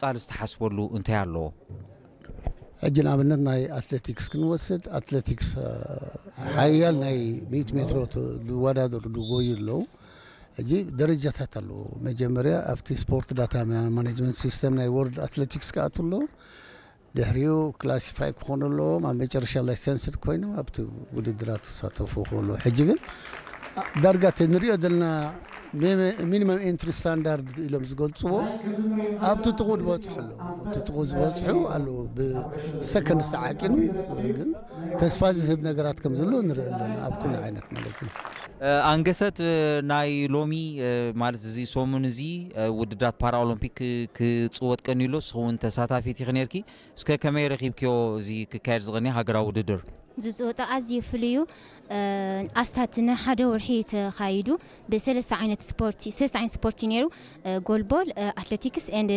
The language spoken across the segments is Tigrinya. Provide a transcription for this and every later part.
ጻል ዝተሓስበሉ እንታይ ኣለዎ? ሕጂ ንኣብነት ናይ ኣትሌቲክስ ክንወስድ ኣትሌቲክስ ሓያል ናይ ሚእት ሜትሮ ዝወዳደሩ ዝጎዩ ኣለዉ። ሕጂ ደረጃታት ኣለዎ። መጀመርያ ኣብቲ ስፖርት ዳታ ማኔጅመንት ሲስተም ናይ ወርልድ ኣትሌቲክስ ክኣቱ ኣለዎ። ድሕሪኡ ክላሲፋይ ክኾኑ ኣለዎም። ኣብ መጨረሻ ላይሰንስድ ኮይኖም ኣብቲ ውድድራት ክሳተፉ ክኽእሉ። ሕጂ ግን ዳርጋ እቲ ንሪኦ ዘለና ሚኒመም ኤንትሪ ስታንዳርድ ኢሎም ዝገልፅዎ ኣብቲ ጥቑ ዝበፅሑ ኣለዉ። ኣብቲ ጥቑ ዝበፅሑ ኣለዉ። ብሰከንድ ዝተዓቂኑ ግን ተስፋ ዝህብ ነገራት ከም ዘሎ ንርኢ ኣለና ኣብ ኩሉ ዓይነት ማለት እዩ። ኣንገሰት፣ ናይ ሎሚ ማለት እዚ ሰሙን እዚ ውድድራት ፓራኦሎምፒክ ክፅወት ቀንዩ ኣሎ። ንስኹም እውን ተሳታፊት ኢኺ ነርኪ። እስከ ከመይ ረኺብክዮ እዚ ክካየድ ዝቐንየ ሃገራዊ ውድድር? ዝፅወታ ኣዝዩ ፍሉይ እዩ። ኣስታት ንሓደ ወርሒ ተኻይዱ ብሰለስተ ዓይነት ስፖርት ሰለስተ ዓይነት ስፖርት እዩ ነይሩ። ጎልቦል፣ ኣትሌቲክስ ኤንድ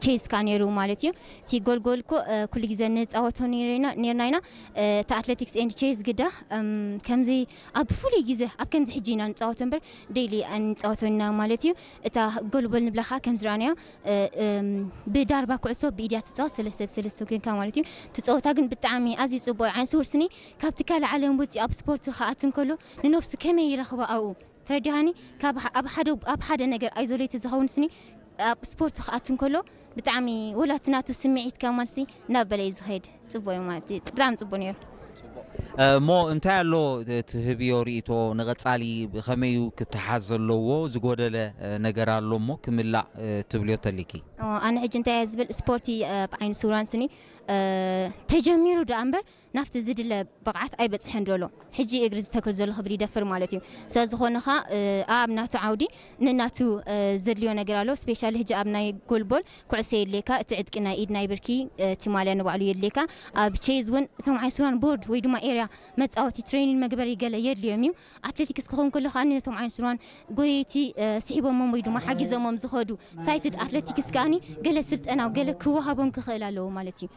ቼዝ ካ ነይሩ ማለት እዩ። እቲ ጎልጎል እኮ ኩሉ ግዜ ንፃወቶ ነርና ኢና። እቲ ኣትሌቲክስ ኤንድ ቼዝ ግዳ ከምዚ ኣብ ፍሉይ ግዜ ኣብ ከምዚ ሕጂ ኢና ንፃወቶ እምበር ዴይሊ ኣይንፃወቶ ኢና ማለት እዩ። እታ ጎልቦል ንብላ ከዓ ከምዚ ረኣናዮ ብዳርባ ኩዕሶ ብኢድያ ትፃወት ሰለስተ ብሰለስተ ኮይንካ ማለት እዩ። እቲ ፀወታ ግን ብጣዕሚ ኣዝዩ ፅቡቅ ዓይን ስውር ስኒ ካብቲ ካልእ ዓለም ወፂኡ ኣብ ስፖርት ክኣቱ እንከሎ ንነብሱ ከመይ ይረኽባ ኣብኡ ተረዲሃኒ። ካብ ኣብ ሓደ ኣብ ሓደ ነገር ኣይዞሌት ዝኸውን ስኒ ኣብ ስፖርት ክኣቱ እንከሎ ብጣዕሚ ወላ እቲ ናቱ ስምዒት ከማንሲ ናብ በለይ ዝኸይድ ፅቡቅ እዩ ማለት እዩ። ብጣዕሚ ፅቡቅ ነይሩ። እሞ እንታይ ኣሎ ትህብዮ ርእይቶ ንቐጻሊ ከመይ እዩ ክተሓዝ ዘለዎ ዝጎደለ ነገር ኣሎ እሞ ክምላእ ትብልዮ ተሊኪ? ኣነ ሕጂ እንታይ እየ ዝብል ስፖርቲ ብዓይኒ ስውራን ስኒ ተጀሚሩ ደኣ እምበር ናብቲ ዝድለ ብቕዓት ኣይበፅሐን ዘሎ። ሕጂ እግሪ ዝተክል ዘሎ ክብል ይደፍር ማለት እዩ። ስለዝኾነ ኸዓ ኣብ ናቱ ዓውዲ ንናቱ ዘድልዮ ነገር ኣሎ። ስፔሻሊ ሕጂ ኣብ ናይ ጎልቦል ኩዕሶ የድልየካ፣ እቲ ዕጥቂ ናይ ኢድ ናይ ብርኪ እቲ ማልያ ንባዕሉ የድልየካ። ኣብ ቼዝ እውን እቶም ዓይሱራን ቦርድ ወይ ድማ ኤርያ መፃወቲ ትሬኒን መግበሪ ገለ የድልዮም እዩ። ኣትሌቲክስ ክኸውን ከሎ ከዓ ነቶም ዓይሱራን ጎየይቲ ስሒቦሞም ወይ ድማ ሓጊዘሞም ዝኸዱ ሳይትድ ኣትሌቲክስ ከዓኒ ገለ ስልጠናው ገለ ክወሃቦም ክኽእል ኣለዎ ማለት እዩ።